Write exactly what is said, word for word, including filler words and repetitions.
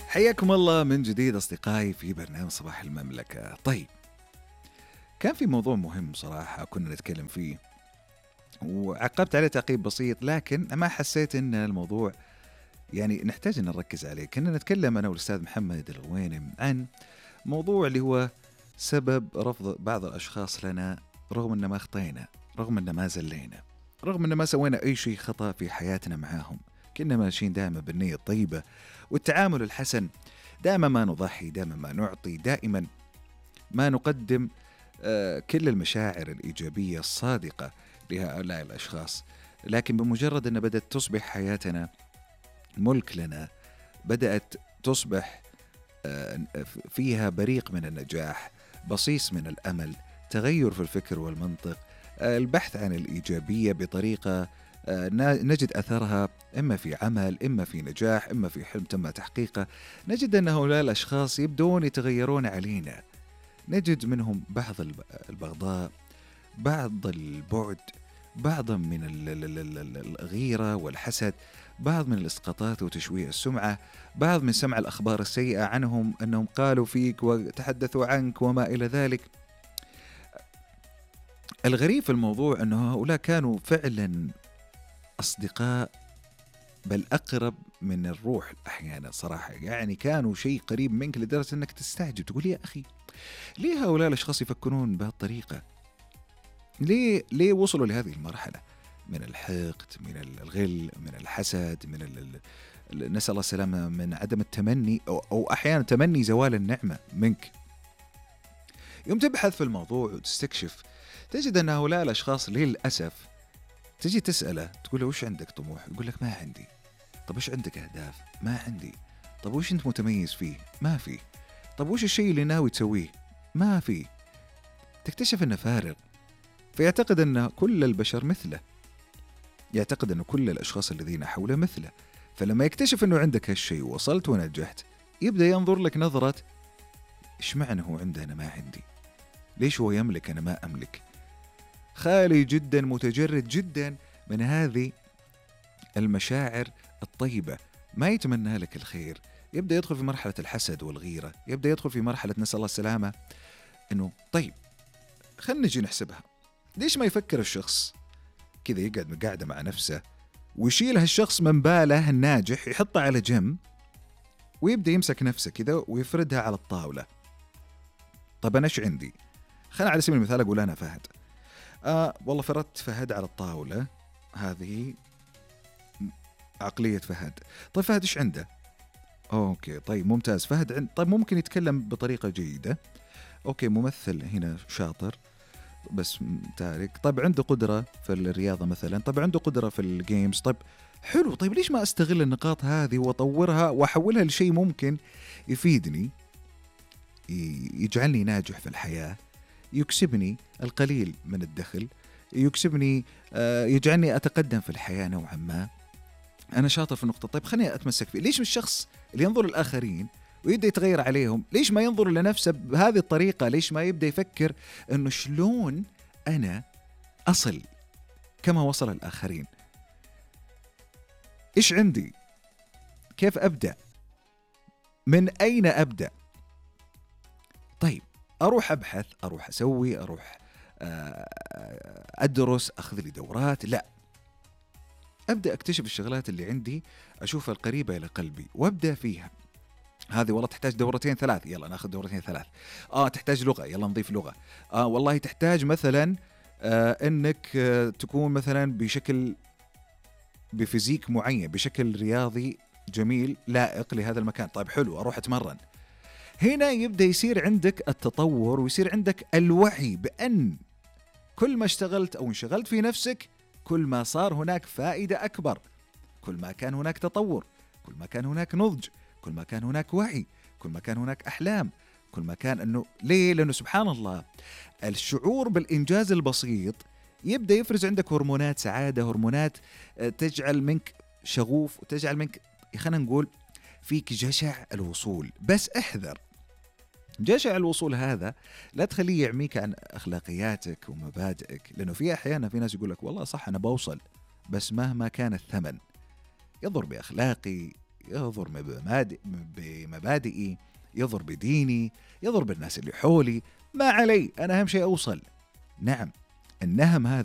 حياكم الله من جديد أصدقائي في برنامج صباح المملكة. طيب، كان في موضوع مهم صراحة كنا نتكلم فيه وعقبت عليه تعقيب بسيط، لكن ما حسيت أن الموضوع يعني نحتاج أن نركز عليه. كنا نتكلم أنا والأستاذ محمد الغوينم عن موضوع اللي هو سبب رفض بعض الأشخاص لنا رغم أن ما أخطينا، رغم أن ما زلينا، رغم أن ما سوينا أي شيء خطأ في حياتنا معاهم. كنا ماشيين دائما بالنية الطيبة والتعامل الحسن، دائما ما نضحي، دائما ما نعطي، دائما ما نقدم آه كل المشاعر الإيجابية الصادقة لهؤلاء الأشخاص. لكن بمجرد أن بدأت تصبح حياتنا ملك لنا، بدأت تصبح آه فيها بريق من النجاح، بصيص من الأمل، تغير في الفكر والمنطق، آه البحث عن الإيجابية بطريقة نجد أثرها إما في عمل، إما في نجاح، إما في حلم تم تحقيقه، نجد أن هؤلاء الأشخاص يبدون يتغيرون علينا. نجد منهم بعض البغضاء، بعض البعد، بعضا من الغيرة والحسد، بعض من الإسقاطات وتشويه السمعة، بعض من سمع الأخبار السيئة عنهم أنهم قالوا فيك وتحدثوا عنك وما إلى ذلك. الغريب في الموضوع أنه هؤلاء كانوا فعلا أصدقاء، بل أقرب من الروح أحيانا صراحة. يعني كانوا شيء قريب منك لدرجة أنك تستعجب، تقول يا أخي ليه هؤلاء الأشخاص يفكرون بهالطريقة؟ ليه ليه وصلوا لهذه المرحلة من الحقد، من الغل، من الحسد، من ال... نسأل الله السلامة، من عدم التمني أو, أو أحيانا تمني زوال النعمة منك. يوم تبحث في الموضوع وتستكشف تجد أن هؤلاء الأشخاص للأسف تجي تسأله تقول له وش عندك طموح؟ يقول لك ما عندي. طب وش عندك أهداف؟ ما عندي. طب وش أنت متميز فيه؟ ما في. طب وش الشيء اللي ناوي تسويه؟ ما في. تكتشف أنه فارغ، فيعتقد أن كل البشر مثله، يعتقد أن كل الأشخاص الذين حوله مثله. فلما يكتشف أنه عندك هالشيء ووصلت ونجحت، يبدأ ينظر لك نظرة إيش معنى هو عنده أنا ما عندي؟ ليش هو يملك أنا ما أملك؟ خالي جدا، متجرد جدا من هذه المشاعر الطيبة، ما يتمنى لك الخير. يبدأ يدخل في مرحلة الحسد والغيرة، يبدأ يدخل في مرحلة نسأل الله السلامة أنه طيب خلنا نجي نحسبها. ليش ما يفكر الشخص كذا، يقعد قاعدة مع نفسه ويشيل هالشخص من باله الناجح، يحطه على جنب ويبدأ يمسك نفسه كذا ويفردها على الطاولة. طب أنا إيش عندي؟ خلنا على سبيل المثال أقول أنا فهد، آه والله فردت فهد على الطاولة، هذه عقلية فهد. طيب فهد إيش عنده؟ أوكي طيب ممتاز، فهد عند، طيب ممكن يتكلم بطريقة جيدة، أوكي ممثل هنا شاطر بس تارك، طيب عنده قدرة في الرياضة مثلا، طيب عنده قدرة في الجيمز، طيب حلو، طيب ليش ما أستغل النقاط هذه وأطورها وأحولها لشيء ممكن يفيدني، يجعلني ناجح في الحياة، يكسبني القليل من الدخل، يكسبني آه يجعلني أتقدم في الحياة نوعا ما. أنا شاطر في النقطة، طيب خليني أتمسك فيه. ليش الشخص اللي ينظر للآخرين ويبدأ يتغير عليهم، ليش ما ينظر لنفسه بهذه الطريقة؟ ليش ما يبدأ يفكر أنه شلون أنا أصل كما وصل الآخرين؟ إيش عندي؟ كيف أبدأ؟ من أين أبدأ؟ طيب أروح أبحث، أروح أسوي، أروح أدرس، أخذ لي دورات؟ لا، أبدأ أكتشف الشغلات اللي عندي، أشوفها القريبة إلى قلبي وأبدأ فيها. هذه والله تحتاج دورتين ثلاث، يلا ناخذ دورتين ثلاث. آه تحتاج لغة، يلا نضيف لغة. آه والله تحتاج مثلا آه إنك آه تكون مثلا بشكل بفيزيك معين، بشكل رياضي جميل لائق لهذا المكان. طيب حلو، أروح أتمرن. هنا يبدأ يصير عندك التطور ويصير عندك الوعي بأن كل ما اشتغلت أو انشغلت في نفسك، كل ما صار هناك فائدة أكبر، كل ما كان هناك تطور، كل ما كان هناك نضج، كل ما كان هناك وعي، كل ما كان هناك أحلام، كل ما كان أنه ليه؟ لأنه سبحان الله الشعور بالإنجاز البسيط يبدأ يفرز عندك هرمونات سعادة، هرمونات تجعل منك شغوف وتجعل منك خلينا نقول فيك جشع الوصول. بس احذر، جشع الوصول هذا لا تخليه يعميك عن أخلاقياتك ومبادئك، لأنه في أحيانا في ناس يقول لك والله صح أنا بوصل، بس مهما كان الثمن، يضر بأخلاقي، يضر بمبادئ بمبادئي، يضر بديني، يضر بالناس اللي حولي، ما علي، أنا أهم شيء أوصل. نعم، النهم هذا